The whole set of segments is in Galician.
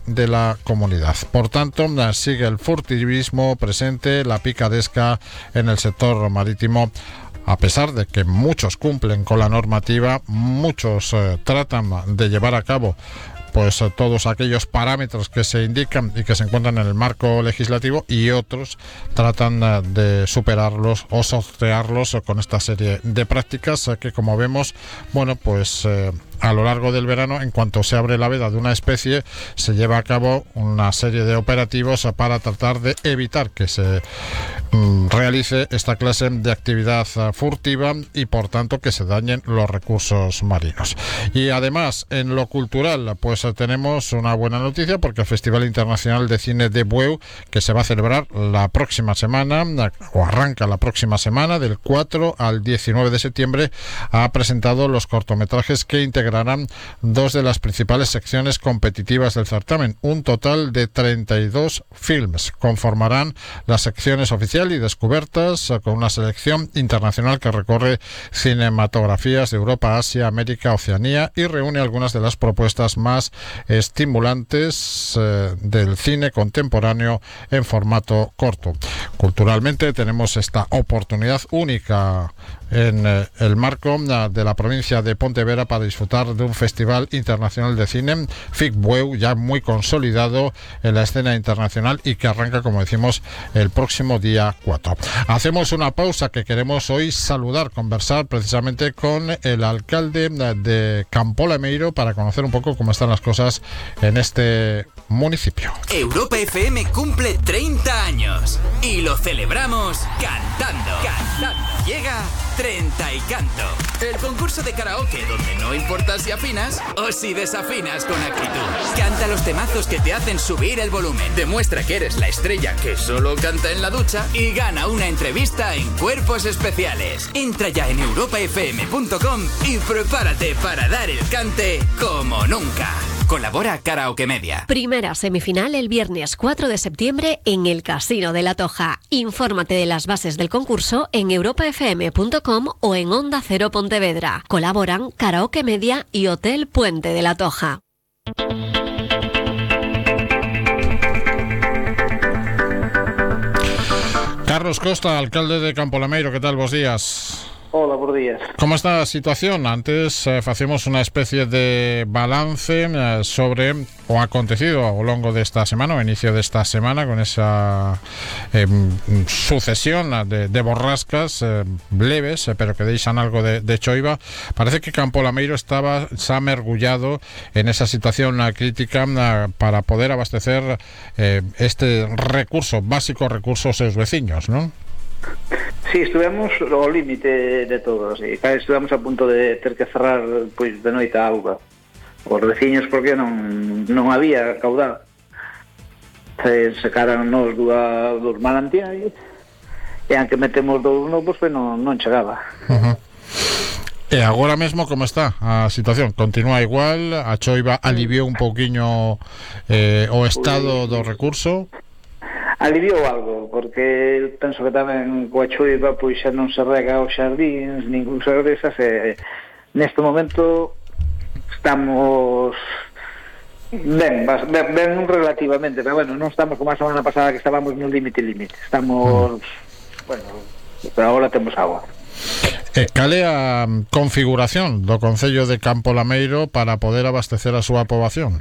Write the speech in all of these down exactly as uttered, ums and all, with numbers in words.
de la comunidad. Por tanto, sigue el furtivismo presente, la picaresca en el sector marítimo. A pesar de que muchos cumplen con la normativa, muchos eh, tratan de llevar a cabo pues todos aquellos parámetros que se indican y que se encuentran en el marco legislativo, y otros tratan de superarlos o sortearlos con esta serie de prácticas que, como vemos, bueno, pues eh, a lo largo del verano, en cuanto se abre la veda de una especie, se lleva a cabo una serie de operativos para tratar de evitar que se mm, realice esta clase de actividad furtiva y, por tanto, que se dañen los recursos marinos. Y además, en lo cultural, pues tenemos una buena noticia, porque el Festival Internacional de Cine de Bueu, que se va a celebrar la próxima semana, o arranca la próxima semana, del cuatro al diecinueve de septiembre, ha presentado los cortometrajes que integrarán dos de las principales secciones competitivas del certamen. Un total de treinta y dos films conformarán las secciones oficial y descubiertas, con una selección internacional que recorre cinematografías de Europa, Asia, América, Oceanía, y reúne algunas de las propuestas más estimulantes eh, del cine contemporáneo en formato corto. Culturalmente tenemos esta oportunidad única en eh, el marco de la provincia de Pontevedra para disfrutar de un festival internacional de cine, FICBUEU, ya muy consolidado en la escena internacional y que arranca, como decimos, el próximo día cuatro. Hacemos una pausa, que queremos hoy saludar, conversar precisamente con el alcalde de Campo Lameiro para conocer un poco cómo están las cosas en este municipio. Europa F M cumple treinta años y lo celebramos cantando. Cantando. Llega Treinta y Canto, el concurso de karaoke donde no importa si afinas o si desafinas con actitud. Canta los temazos que te hacen subir el volumen, demuestra que eres la estrella que solo canta en la ducha y gana una entrevista en Cuerpos Especiales. Entra ya en europa f m punto com y prepárate para dar el cante como nunca. Colabora Karaoke Media. Primera semifinal el viernes cuatro de septiembre en el Casino de la Toja. Infórmate de las bases del concurso en europa f m punto com o en Onda Cero Pontevedra. Colaboran Karaoke Media y Hotel Puente de la Toja. Carlos Costa, alcalde de Campo Lameiro, ¿qué tal? Buenos días. Hola, buenos días. ¿Cómo está la situación? Antes eh, hacemos una especie de balance eh, sobre o acontecido a lo largo de esta semana, o inicio de esta semana, con esa eh, sucesión de, de borrascas eh, leves, eh, pero que deixan algo de, de choiva. Parece que Campo Lameiro estaba, se ha mergullado en esa situación eh, crítica eh, para poder abastecer eh, este recurso, básico recurso a sus vecinos, ¿no? Sí, estuvemos ao límite de todo, sí. Estuvemos a punto de ter que cerrar pois de noite a auga os veciños, porque non non había caudal. Se secaran nos dúas dos manantiais e aunque metemos dous novos, pues non, non chegaba. Uh-huh. E agora mesmo como está a situación? Continúa igual? A choiva aliviou un pouquiño eh, o estado do recurso? Aliviou algo, porque penso que tamén coa choiva pois xa non se rega os xardíns, ningún se regresa, e neste momento estamos ben, ben, ben relativamente, pero bueno, non estamos como a semana pasada que estábamos no límite límite, estamos, bueno, pero agora temos agua. E cal é a configuración do Concello de Campo Lameiro para poder abastecer a súa poboación?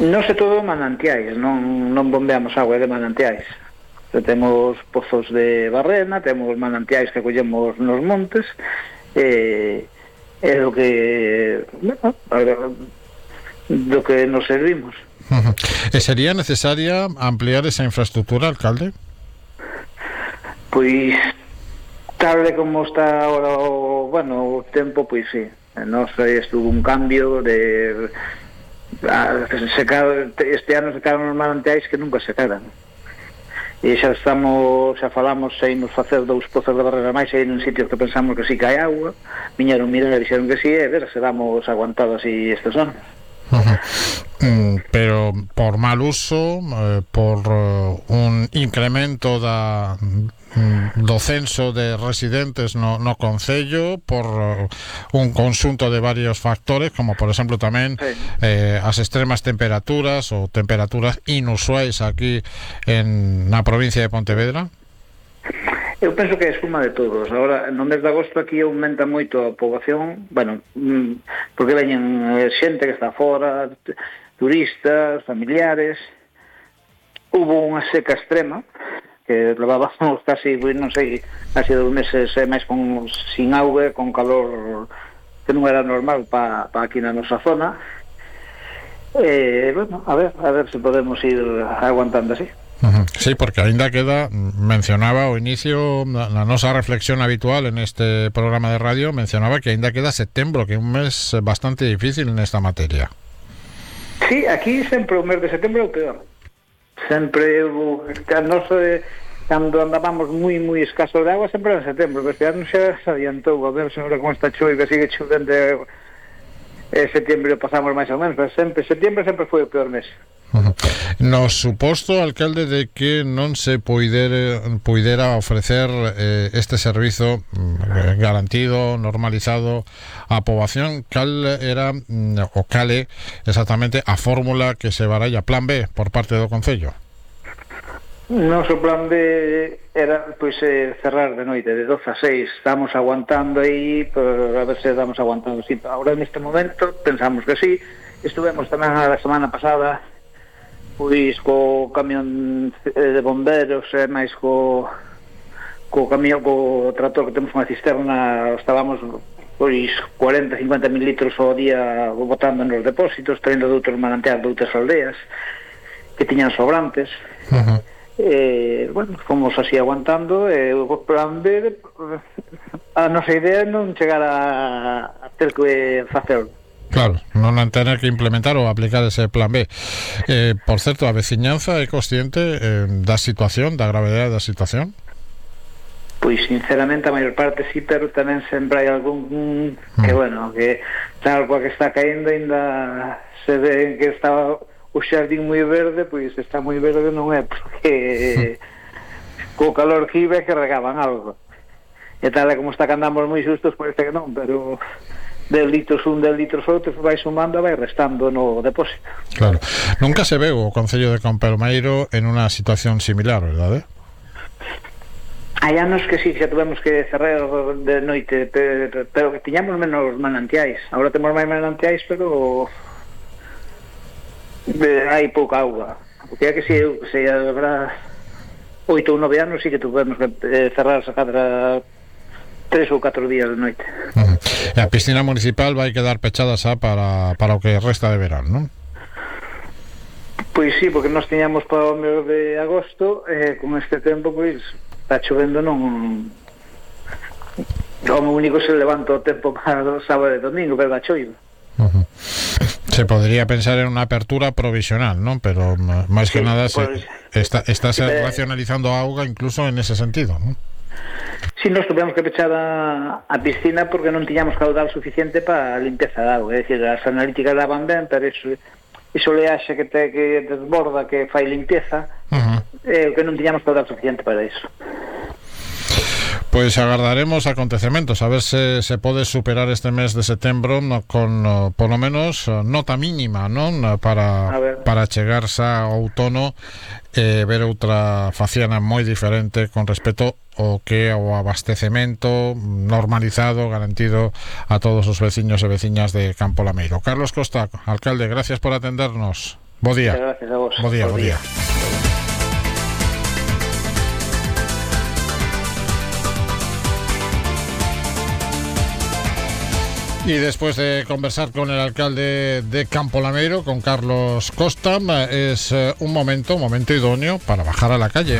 Non sei todo manantiais, non, non bombeamos agua de manantiais. Temos pozos de barrena, temos manantiais que collemos nos montes, e é do que, bueno, do que nos servimos. Uh-huh. E sería necesaria ampliar esa infraestructura, alcalde? Pois, tal de como está ahora o, bueno, o tempo, pois sí. Non sei, estuvo un cambio de... este ano secaron os manantiais que nunca secaran, e xa estamos, xa falamos se imos facer dous pozos de barrera máis aí en sitios que pensamos que sí que hai agua, viñeron mirar e dixeron que sí, e ver se vamos aguantado así estes anos. Uh-huh. pero por mal uso, eh, por uh, un incremento da do censo de residentes no, no concello, por uh, un conxunto de varios factores, como por exemplo tamén sí. eh, as extremas temperaturas ou temperaturas inusuais aquí en na provincia de Pontevedra. Eu penso que é suma de todos. Agora, no mes de agosto aquí aumenta moito a poboación, bueno, porque veñen xente que está fora, turistas, familiares. Hubo unha seca extrema que levábamos casi, non sei, casi dos meses eh, máis con, sin auga, con calor que non era normal para pa aquí na nosa zona. Eh, bueno, a ver, a ver se podemos ir aguantando así. Uh-huh. Sí, porque aínda queda, mencionaba ao inicio na nosa reflexión habitual en este programa de radio, mencionaba que aínda queda setembro, que é un mes bastante difícil nesta materia. Sí, aquí sempre o mes de setembro é o peor. Sempre o non sei, cando andábamos moi moi escasos de agua sempre era en setembro, pero este ano xa se adiantou, a ver se agora con esta choiva sigue chovendo e setembro pasamos máis ou menos, pero sempre setembro sempre foi o peor mes. Uh-huh. No suposto, alcalde, de que non se poidere, poidera ofrecer eh, este servizo eh, garantido, normalizado á poboación, cal era mm, o cale exactamente a fórmula que se baralla, plan B, por parte do Concello? Noso plan B era pois eh, cerrar de noite de doce a seis. Estamos aguantando aí, pero a ver se estamos aguantando. Sí, ahora neste momento pensamos que sí. Estuvemos tamén a semana pasada pois co camión de bomberos e máis co co camión, co trator que temos unha cisterna, estábamos pois cuarenta, cincuenta mil litros ao día botando nos depósitos, traindo de outros manantiais de outras aldeas que tiñan sobrantes. Uh-huh. Eh, bueno, fomos así aguantando e o plan B, a nosa idea é non chegar a, a ter que facerlo. Claro, non tener que implementar ou aplicar ese plan B. Eh, por certo, a veciñanza é consciente eh, da situación, da gravedade da situación? Pois sinceramente a maior parte sí, pero tamén sempre hai algún mm. que, bueno, que tal coa que está caendo ainda se ve que está o xardín moi verde, pois está moi verde non é porque mm. co calor que iba que regaban algo. E tal como está que andamos moi xustos, parece que non, pero de litros un, de litros outros vai sumando e vai restando no depósito. Claro. Nunca se veu o Concello de Campomeiro en unha situación similar, verdade? Hai anos que sí, xa tuvemos que cerrar de noite, pero, pero que tiñamos menos manantiais. Agora temos máis manantiais, pero hai pouca auga. Porque é que si, se habrá oito ou nove anos sí que tuvemos que cerrar esa cadra tres ou catro días de noite. Uh-huh. E a piscina municipal vai quedar pechada xa para, para o que resta de verán, non? Pois sí, porque nós tiñamos para o mes de agosto e eh, con este tempo pois está chovendo, non o único se levanta o tempo para o sábado e domingo, pero da choiva. Uh-huh. Se podría pensar en unha apertura provisional, non? Pero máis que sí, nada se, pues, está, está se eh, racionalizando a auga incluso en ese sentido, non? Si, nos tuvemos que pechar a, a piscina porque non tiñamos caudal suficiente para a limpeza de auga. É dicir, as analíticas daban ben, pero iso, iso leaxe que te que desborda, que fai limpieza, uh-huh. eh, que non tiñamos caudal suficiente para iso. Pois agardaremos acontecementos a ver se se pode superar este mes de setembro no, con no, polo menos nota mínima, non? Para para chegarse ao outono e eh, ver outra faciana moi diferente con respecto ao que o abastecemento normalizado, garantido a todos os veciños e veciñas de Campo Lameiro. Carlos Costa, alcalde, gracias por atendernos. Bo día. Gracias a vos. Bo día, bo día. Y después de conversar con el alcalde de Campo Lameiro, con Carlos Costa, es un momento, un momento idóneo para bajar a la calle.